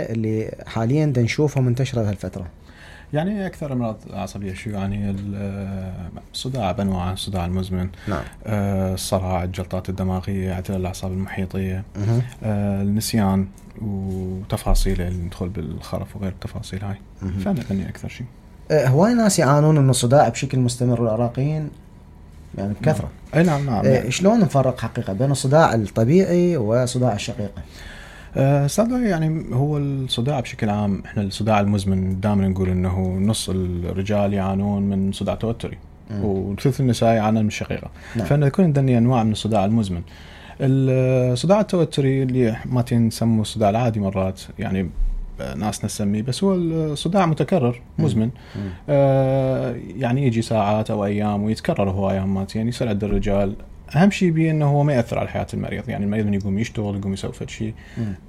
اللي حاليا نشوفها منتشرة بهالفترة؟ يعني أكثر أمراض عصبية شو يعني الصداع بأنواعه، الصداع المزمن، نعم. الصرع، الجلطات الدماغية، اعتلال الأعصاب المحيطية، النسيان وتفاصيل اللي ندخل بالخرف وغير التفاصيل هاي. فأنا أني أكثر شيء هواي ناس يعانون من الصداع بشكل مستمر، والعراقيين يعني بكثرة. نعم. شلون نفرق حقيقة بين الصداع الطبيعي وصداع الشقيقة؟ صدق يعني هو الصداع بشكل عام، احنا الصداع المزمن دائما نقول انه نص الرجال يعانون من صداع توتري وثلث النساء يعانون من الشقيقة. نعم. فإن يكون عندنا انواع من الصداع المزمن. الصداع التوتري اللي ما نسموه الصداع العادي مرات، يعني ناس نسميه، بس هو الصداع متكرر مزمن. يعني يجي ساعات او ايام ويتكرر هوايه مرات، يعني يصير عند الرجال. اهم شيء بيه انه هو ما ياثر على حياه المريض، يعني المريض من يقوم يشتغل، يقوم يسوي شيء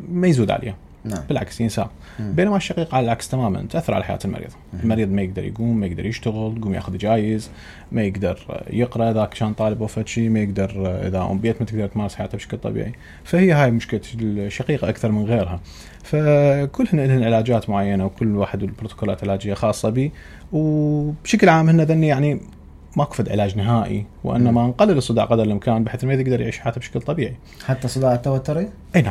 ما يزود عليه. نعم. بالعكس ينساه. بينما الشقيقة على العكس تماما، تأثر على حياة المريض. المريض ما يقدر يقوم، ما يقدر يشتغل، يقوم ياخذ جايز، ما يقدر يقرأ ذاك كان طالب أو شيء، ما يقدر إذا أم بيت ما تقدر تمارس حياتها بشكل طبيعي. فهي هاي مشكلة الشقيقة أكثر من غيرها. فكلهن لهن علاجات معينة، وكل واحد والبروتوكولات علاجية خاصة به. وبشكل عام هن ذني يعني ماكو فد علاج نهائي، وإنما نقلل الصداع قدر الإمكان بحيث المريض يقدر يعيش حياته بشكل طبيعي. حتى صداع التوتري؟ أي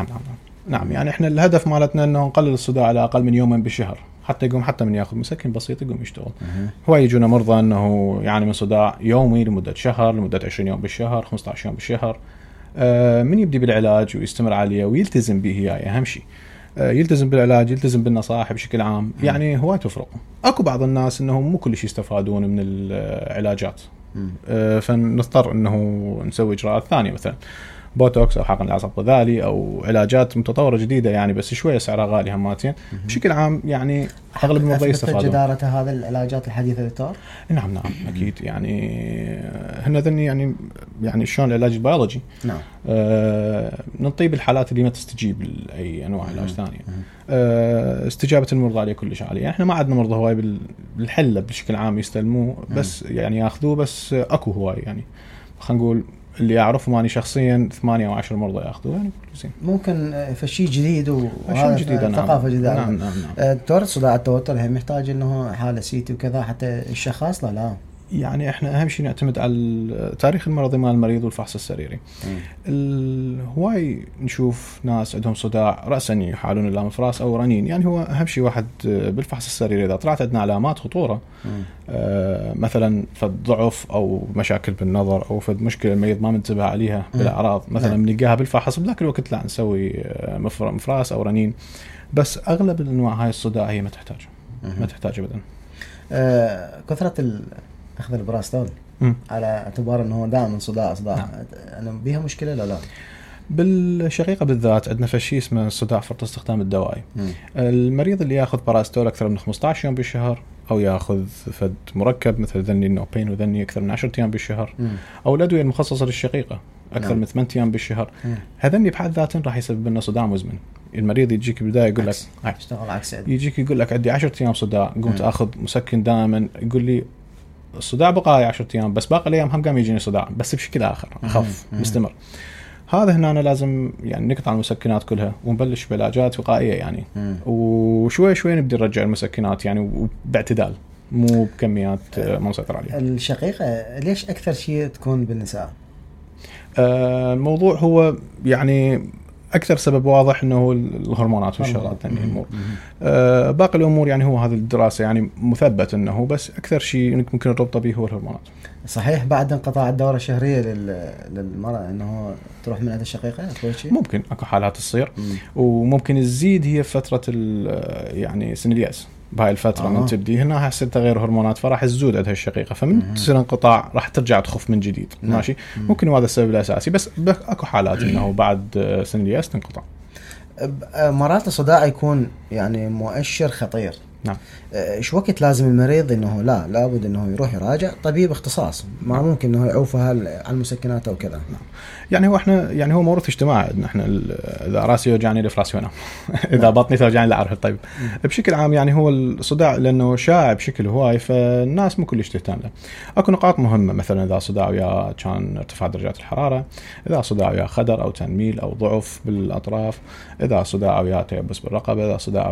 نعم. يعني احنا الهدف مالتنا انه نقلل الصداع على اقل من يومين بالشهر، حتى يقوم حتى من ياخذ مسكن بسيط يقوم يشتغل. هو يجونا مرضى انه يعني من صداع يومي لمده شهر، لمده 20 يوم بالشهر، 15 يوم بالشهر. من يبدي بالعلاج ويستمر عليه ويلتزم به، هي اهم شيء. يلتزم بالعلاج، يلتزم بالنصائح بشكل عام. يعني هواي تفرق. اكو بعض الناس انهم مو كل شيء يستفادون من العلاجات، فنضطر انه نسوي اجراءات ثانيه، مثلا بوتوكس او حقن العصب الغذائي او علاجات متطوره جديده، يعني بس شويه سعرها غالي هماتين. بشكل عام يعني اغلب المرضى يستفادون. جدارة هذا العلاجات الحديثه دكتور؟ نعم اكيد. يعني هن ذني يعني شلون العلاج البيولوجي. نعم. نطيب الحالات اللي ما تستجيب لاي انواع علاج ثانيه. استجابه المرضى عليه كلش عاليه. يعني احنا ما عندنا مرضى هواي بالحله بشكل عام يستلموه، بس يعني ياخذوه. بس اكو هواي، يعني خلينا نقول اللي أعرفه ماني شخصيا 8 أو 10 مرضى يأخذوا، يعني زين. ممكن فشي جديد وهذا ثقافة جديدة. نعم. دكتور، صداع التوتر هم يحتاج إنه حالة سيتي وكذا حتى الشخص لا. يعني احنا اهم شيء نعتمد على تاريخ المرضي مال المريض والفحص السريري. هواي نشوف ناس عندهم صداع رأسا يحالون اللامفراس او رنين. يعني هو اهم شيء واحد بالفحص السريري اذا طلعت عندنا علامات خطوره، مثلا فد ضعف او مشاكل بالنظر او فد مشكله المريض ما منتبه عليها بالاعراض، مثلا بنلقاها بالفحص بذاك الوقت لا نسوي مفراس او رنين. بس اغلب الانواع هاي الصداع هي ما تحتاج ابدا. كثره أخذ البراستول على اعتبار أنه دائما صداع. أنا بيها مشكلة لا؟ بالشقيقة بالذات عندنا فشي اسمه صداع فرط استخدام الدوائي. المريض اللي ياخذ براستول أكثر من 15 يوم بالشهر، أو ياخذ فد مركب مثل ذني النوبين وذني أكثر من 10 أيام بالشهر، أو الأدوية المخصصة للشقيقة أكثر من 8 أيام بالشهر، هذني بحد ذاتهم راح يسبب لنا صداع مزمن. المريض يجيك بداية يقول لك اشتغل عكس، يجيك يقول لك عندي 10 أيام صداع، قمت أخذ مسكن دائما، يقول لي الصداع بقى 10 أيام بس باقي الأيام هم قام يجيني صداع بس بشكل آخر أخف مستمر. هذا هنا أنا لازم يعني نقطع المسكنات كلها ونبلش بعلاجات وقائية يعني. وشوي شوي نبدأ نرجع المسكنات يعني باعتدال، مو بكميات ما نسيطر عليها. الشقيقة ليش أكثر شيء تكون بالنساء؟ الموضوع هو يعني أكثر سبب واضح إنه الهرمونات والشغلات ثانية الأمور. باقي الأمور يعني هو هذه الدراسة يعني مثبت إنه بس أكثر شيء ممكن نربطه به هو الهرمونات. صحيح بعد انقطاع الدورة الشهرية للمرأة إنه تروح من عند الشقيقة؟ ممكن أكو حالات تصير، وممكن تزيد هي فترة يعني سن اليأس. بهاي الفترة من تبدي هنا حسيت تغير هرمونات فراح تزود عندها الشقيقة، فمن تصير انقطاع راح ترجع تخف من جديد. ماشي. ممكن هذا السبب الأساسي، بس أكو حالات إنه بعد سن اليأس تنقطع. مرات الصداع يكون يعني مؤشر خطير، نعم. ايش وقت لازم المريض انه لابد انه يروح يراجع طبيب اختصاص، ما ممكن انه يعوفها على المسكنات او كذا. نعم. يعني هو احنا يعني هو موروث اجتماعي، ان احنا اذا راسي وجعني لي فراسي وانام اذا بطني توجعني لا اعرف الطبيب. بشكل عام يعني هو الصداع لانه شائع بشكل هواي، فالناس مو كلش تهتم له. اكو نقاط مهمه، مثلا اذا صداع ويا كان ارتفاع درجات الحراره، اذا صداع ويا خدر او تنميل او ضعف بالاطراف، اذا صداع ويا تيبس بالرقبه، اذا صداع